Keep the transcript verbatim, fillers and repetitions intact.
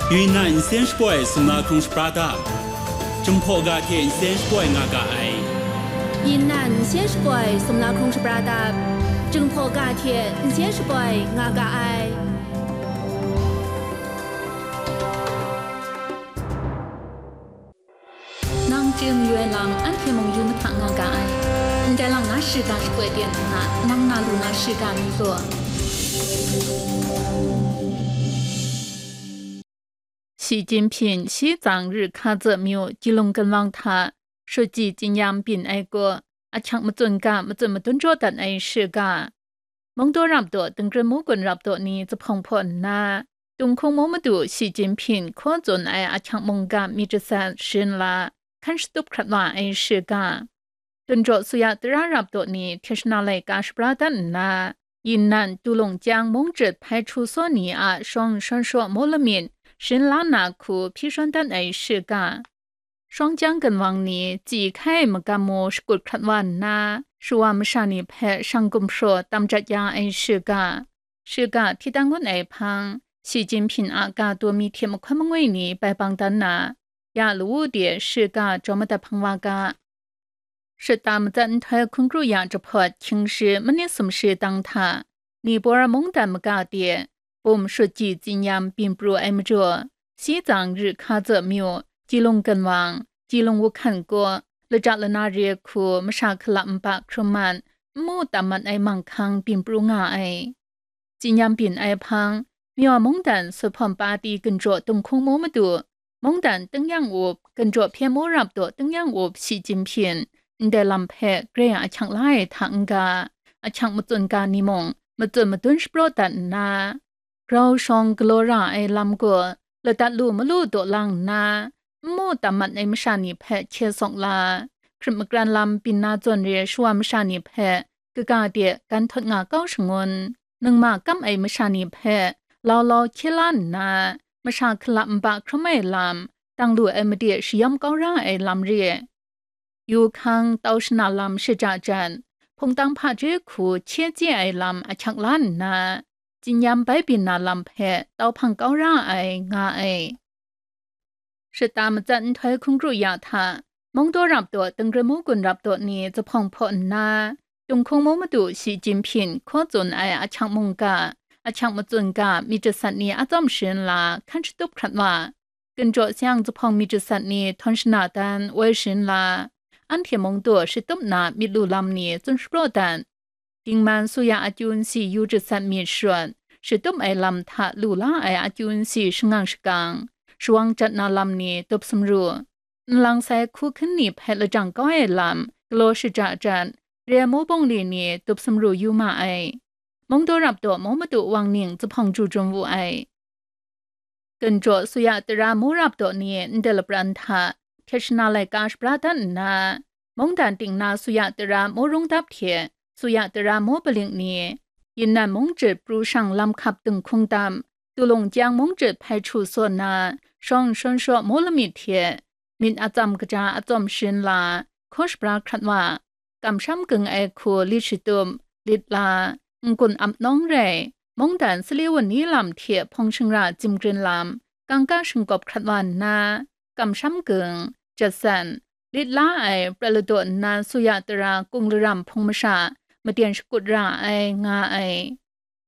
Yunnan nsen shapoi sumla hkrung shapra dap, Jinghpaw ga hte nsen shapoi nga ga ai. Yunnan nsen shapoi sumla hkrung shapra dap, Jinghpaw ga hte nsen shapoi nga ga ai. Nang chye mayu ai lam anhte mung yu mahta nga ga ai. Ndai lang na shiga shapoi ten nna, nang na lu na shiga mi law. 习近平西藏日喀则မြို့ Jilung ကန်ဝင်း hta 书记 Zin Yambin အက်ကို အချက်မစွန်က မစွန်မတွန်ကြောတန် အက်ရှိက မုံတိုးရပ်တို့ တင်ကြမူကွန်ရပ်တို့နီ သဖုံဖော်နၢ တုံခုံမိုးမတူ ရှီကျင်းဖျင် ခိုးစွန် အက် အချက်မုံက မီတစန် ရှင်လာ ခန့်စတုပ်ခရတ်ဝါ အက်ရှိက တွန်ကြော်ဆူယတရရပ်တို့နီ ထေရှနာလိုက်က ရှပရာတတ်နၢ ယီနန် တူလုံကျန်း မုံကျစ် ဖဲချူစောနီ အ ရှောင်းရှောင်းရှော မိုးလမင် ရှင်လာနာ ခု ဖီရှွန်တတ် အက်ရှိက ရှောင်းကျန်း ကန်ဝင်းနီ ကြည်ခဲ မကမ်းမိုး ရှကုတ်ခရတ်ဝါနၢ ရှူဝါမရှါနီ ဖဲ ရှန်ကုမ်ရှော တမ်ကျတ်ယာ အက်ရှိက ရှိက ထီတန်ငွတ် အက်ဖန်း ရှီကျင်းဖျင် အ ကတူမီ ထေမခွဲမငွေနီ ပိုင်ပန်းတတ်နၢ ယလူဝူတီ ရှိက ကြောမတဖန်းဝါက ရှစ်တၢ်မကျတ် အင်ထွဲ ခုံကရူႇယၢင်ႇ တဖတ် ခင်းရှည် မနစ်စုံရှည် တၢင်ထၢ နီပောရမုန်တန်မကတည်း ဘုံရှုတ်ကြည် ကျဉ်းရမ်း ပင်ပရူး အဲမကျော် စည်း ကျင် ရစ်ခါ ကျမြို့ ကြည်လုံ ကန်ဝင်း ကြည်လုံ ဝူခန့်ကို လကြလနာ ရေခု မရှါ ခလပ် မပ ခရူမန် မူတမတ် အဲမန်ခန်း ပင်ပရူး ငါ အဲ ကျဉ်းရမ်း ပင် အဲဖန်း မြော်မုန်တန် ဆွတ်ဖွန်ပါတီ ကင်ကြော် တုံခုံမိုးမတူ မုန်တန် တင်းယံႉအုပ် ကင်ကြော် ဖျဲမိုးရပ်တို့ တင်းယံႉအုပ် ရှီကျင်းဖျင် အင်တဲလမ်ဖဲ ဂရဲအချက်လါ အဲ ထ အင်္ဂါ အချက်မစွန်က နီမုံ မစွန်မတွန် ရှပရော့တတ် နၢ grau shawng galaw ra ai lam gaw, ladat lu malu daw lang nna, n mu tam mat ai masha ni hpe hkye sawk la, hkrit magran lam byin na zawn re shawa masha ni hpe kaga de gan htawt nga kau shangun, ningma kam ai masha ni hpe lau lau hkye la nna, masha hkala nba hkrum ai lam, dang lu ai made shayawm kau ra ai lam re. Yu hkang tau shana lam shaja jan, hpungtang hpaje hku hkye chye ai lam ahkyak la nna, tsinyam bai byin na lam hpe tau hpang kau ra ai, nga ai. Shata matsat nhtoi hkungru ya hta, mungdaw rap daw, dingre mu gun rap daw ni zuphpawng hpaw nna, Tung hkung mu madu shi Jinhpyin hkaw tsun ai ahkyak mungga, ahkyak matsun ga myit jasat ni atsawm sharin la hkan shatup hkrat wa, Ginjaw sayang zuphpawng myit jasat ni htawn shana dan woi sharin la, anhte mung daw shatup na myit lu lam ni tsun shapraw dat. Dingman suya akyu nsi yu jasat myit sharawt, shatup ai lam hta lu la ai akyu nsi shangang shakang, shawang jat na lam ni tup sumru, nlang sai hku hkun ni hpe lajang kau ai lam, galaw shaja jat, re ai mu bungli ni tup sumru yu ma ai. Mungdaw rap daw mu madu wang ning zuphpawng ju jum wu ai. Ginjaw suya tara mu rap daw ni ndai lapran hta, hkyet shana laika shapra dat nna, mungdan ting na suya tara mu rung dap hte, suya tara mu paling ni, yin nan mung jit pru shang lam hkap dinghkung dam, tulung chyang mung jit hpai htu saw nna, shawng shawn shaw mu lamyit hte, myit atsam kaja atsawm sharin la, hkaw shapra hkrat wa, kamsham ging ai hku lit shatup, lit la, n-gun ap nawng rai, mungdan sali wun ni lam hte hpawng shingra tsim grin lam, kangka shingkawp hkrat wa nna, kamsham ging, jasan, lit la ai prat ladaw nna suya tara kung laram hpung masha, maten shakut ra ai, nga ai.